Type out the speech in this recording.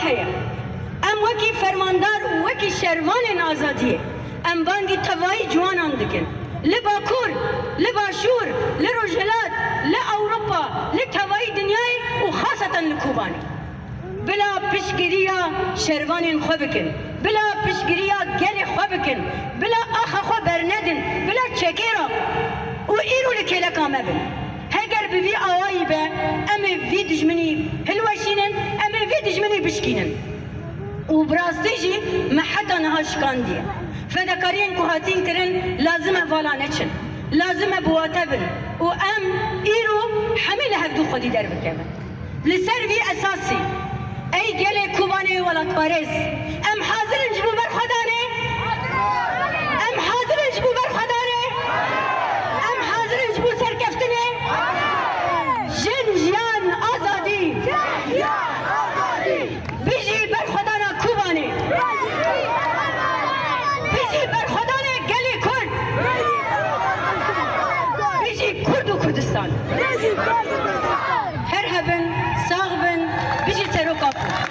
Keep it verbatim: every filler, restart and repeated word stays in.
heye. Em wekî fermandar û wekî şervanên azadiyê, em bangî tevayî ciwanan dikin. Li Bakur, li Başûr, li Rojhilat, li Ewropa, li tevayî dinyayê û xaseten li Kobanê. Bila piştgiriya şervanên xwe bikin. Bila piştgiriya gelê xwe bikin. Bila axa xwe bernedin. Bila çekê raxin. Û îro li kêleka me bin. Heger bi vî awayî be, em ê vî dijminî hilweşînin, em ê vî dijminî bişkînin. Û bi rastî jî me heta niha şikandiye. Fedakariyên ku hatin kirin lazim e vala neçin. Lazim e bi wate bin. Û em îro hemî li hevdû xwedî derbikevin. Li ser vî esasî, ey gelê Kobanê welatparêz, em hazir in ji bo berxwedanê? Em hazir in ji bo berxwedanê? Em hazir in ji bo serkeftinê? Jin, jiyan, azadî! Bijî berxwedana Kobanê! Bijî berxwedanê gelê Kurd! Bijî Kurd û Kurdistan! Her hebin, sax bin, bijî seroka Kurd!